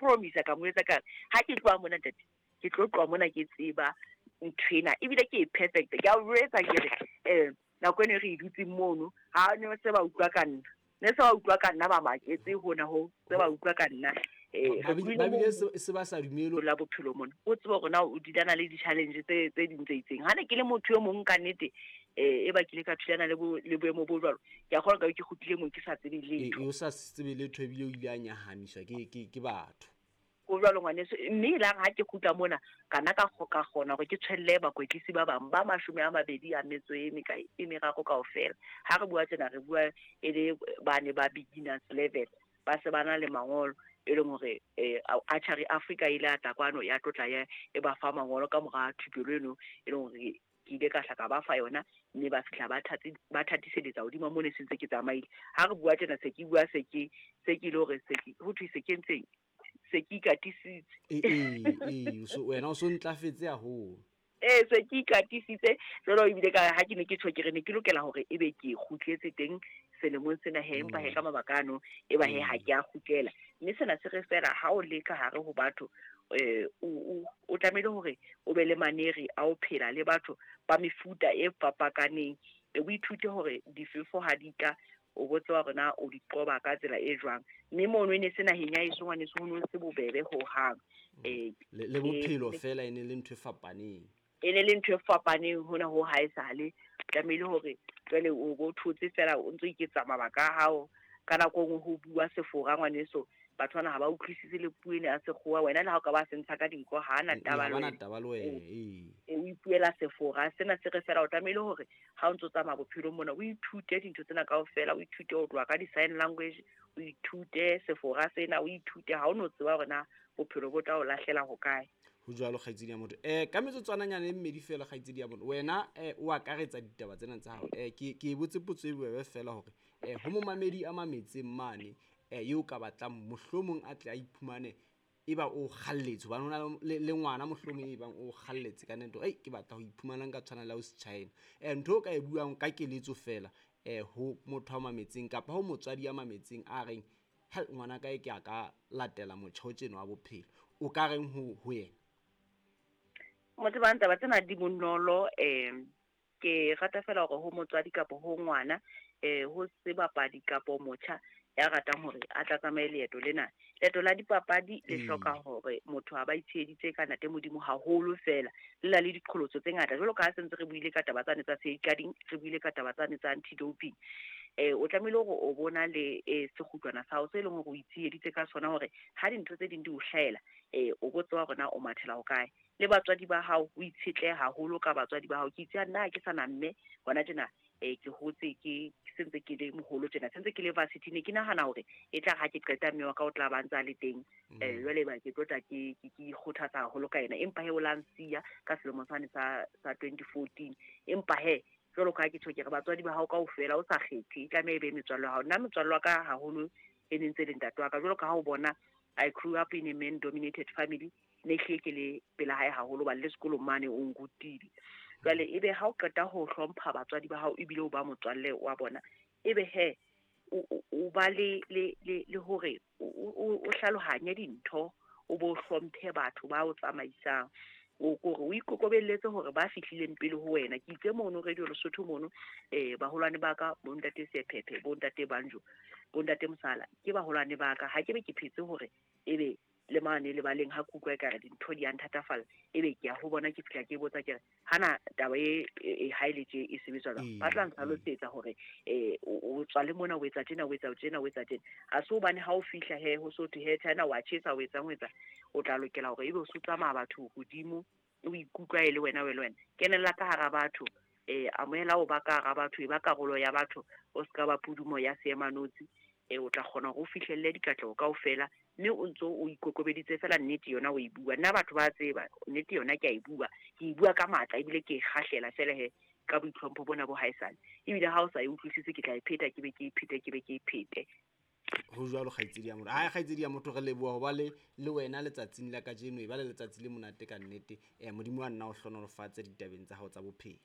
promise ka mo etsa ka re ha ke tloha mona ntate, ke tlo tloha mona ke tseba nthwena ebile ke e perfect. Ke a o jwetsa ke re nako eno e re e dutseng mono, ha ne se ba utlwa ka nna, ne se ba utlwa ka nna, ba maketse hona ho se ba utlwa ka nna. Ba bile se ba sa dumele la bophelo mona, o tsebe hore na o dilana le di-challenge tse ding tse itseng. Ha ne ke le motho e mong ka nnete, e ba kile ka thulana le boemo bo jwalo, ke a kgolwa ka be ke kgutlile moo ke sa tsebe letho. O sa tsebe letho ebile o ile a nyahamiswa ke batho. Ho jwalo ngwaneso, mme e lare ha ke kgutla mona, ka nna ka kgona hore ke tshwelle bakwetlisi ba bang ba 23 kaofela. Ha re bua tjena, re bua e le bane ba beginners level, ba se ba na le mangolo, e leng hore Archery Africa ile ya tla kwano ya tlotla ya e ba fa mangolo ka mora thupelo eno, e leng hore ke ile ka hla ka ba fa yona, mme ba fihla ba thatiseletsa hodima mona se ntse ke tsamaile. Ha re bua tjena, se ke bua se ke, se ke ile hore se ke, ho thwe se ke ntseng, se ke ikatisitse. So wena o so ntlafetse haholo. Se ke ikatisitse. Jwalo ebile ka ha ke ne ke tjho ke re ne ke lokela hore ebe ke kgutletse teng selemong sena he, empa he ka mabaka ano e ba he ha ke a kgutlela. Mme sena se re fela ha o le ka hare ho batho, o tlamehile hore o be le maneri a ho phela le batho ba mefuta e fapakaneng. O ithute hore difefo ha di tla, o bo tseba hore na o di qoba ka tsela e jwang. Mme mono e ne se naheng ya heso ngwaneso, ho no se bobebe hohang. Le bophelo fela e ne le ntho e fapaneng. E ne le ntho e fapaneng hona ho haesale. Tlamehile hore jwale o bo thotse fela o ntso iketsa mabaka a hao. Ka nako e nngwe ho bua Sefora ngwaneso, batho bana ha ba utlwisise le puo ena ya Sekgowa. Wena le ha o ka ba se ntsha ka dinko, ha ana taba le Ha bana wena. taba le wena, ee. O ipuela Sefora. Sena se re fela o tlamehile hore ha o ntso tsamaya bophelong mona, o ithute dintho tsena kaofela, o ithute ho tloha ka di-sign language, o ithute Sefora sena, o ithute ha o no tseba hore na bophelo bo tla o lahlela hokae. Ho jwalo kgaitsedi ya motho. Ka metsotswananyana e mmedi fela kgaitsedi ya motho, wena o akaretsa ditaba tsena tsa hao. Ke e botse potso e bobebe fela hore ho momamedi a mametseng mane, eo ka batlang mohlomong a tle a iphumane e ba o kgalletse, hobane ho na le ngwana mohlomong e bang o kgalletse ka nnete hore, ei, ke batla ho iphumana nka tshwana le ausi China. Ntho o ka e buang ka keletso fela, ho motho a mametseng kapa ho motswadi a mametseng a reng, hel, ngwana kae ke a ka latela motjha o tjena wa bophelo, o ka reng ho yena? Motho ba ntaba tsena di bonolo, ke rata fela hore ho motswadi kapa ho ngwana, ho sebapadi kapa motjha ya ratang hore a tla tsamaye leeto lena. Leeto la dipapadi le hloka hore motho a ba itsheheditse ka ntate Modimo haholo fela, le na le diqholotso tse ngata. Jwalo ka ha se ntse re buile ka taba tsane tsa safeguarding, re buile ka taba tsane tsa anti-doping. O tlamehile hore o bona le sekgutlwana sa hao se leng hore o itsheheditse ka sona, hore ha dintho tse ding di o hlahela, o bo tseba hore na o mathela hokae. Le batswadi ba hao, o itshetlehe haholo ka batswadi ba hao. Ke itse nna ha ke sa na mme hona tjena, ke hotse ke sentse ke le moholo tjena, sentse ke le varsity, ne ke nahana hore e tla ha ke qeta mme wa ka o tla ba ntse a le teng. Jwale ba ke tlo tla ke ikgothatsa haholo ka yena, empa he o la nsiya ka selemo sane sa 2014. Empa he jwalo ka ha ke tjho ke re batswadi ba hao kaofela o sa kgethe, e tlameha e be metswalle ya hao. Nna motswalle wa ka haholo e ne ntse le ntate wa ka, jwalo ka ha o bona I grew up in a man dominated family, ne hlile ke le pela hae haholo, hobane le sekolong mane o nrutile. Jwale ebe ha o qeta ho hlompha batswadi ba hao ebile o ba motswalle wa bona, ebe he o ba le hore o hlalohanye dintho, o bo hlomphe batho ba o tsamaisang, o kore o ikokobelletse hore ba fihlileng pele ho wena. Ke itse mono Radio Lesotho mono, baholwane ba ka, bo ntate Sephephe, bo ntate Banjo, bo ntate Mosala, ke baholwane ba ka. Ha ke be ke phetse hore ebe le mane le baleng ha ke utlwa ekare dintho di a nthatafalla, ebe ke ya ho bona, ke fihla ke botsa ke re, hana taba e ha e le tje e sebetswa jwang? Ba tla ntlhalosetsa hore, o tswa le mona, o etsa tjena, o etsa tjena, o etsa tjena. Ha se hobane ha o fihla he, ho so thwe he, China wa tjhesa, o etsang, o etsang. O tla lokela hore ebe o so tsamaya batho hodimo, o ikutlwa e le wena, o e le wena. Kenella ka hara batho, amohela ho ba ka hara batho, e ba karolo ya batho, o ska ba pudumo ya seemanotsi. O tla kgona hore o fihlelle dikatleho kaofela, mme o ntso o ikokobeditse fela nnete yona o e bua. Nna batho ba tseba nnete yona ke a e bua, ke e bua ka matla ebile ke e kgahlela fela he ka boitlhompho bona bo haesale. Ebile ha o sa e utlwisise ke tla e pheta, ke be ke e phete, ke be ke e phete. Ho jwalo kgaitsedi ya motho. Hai kgaitsedi ya motho, re leboha ho ba le wena letsatsing la kajeno, e ba le letsatsi le monate ka nnete. Modimo wa nna o hlohonolofatse ditabeng tsa hao tsa bophelo.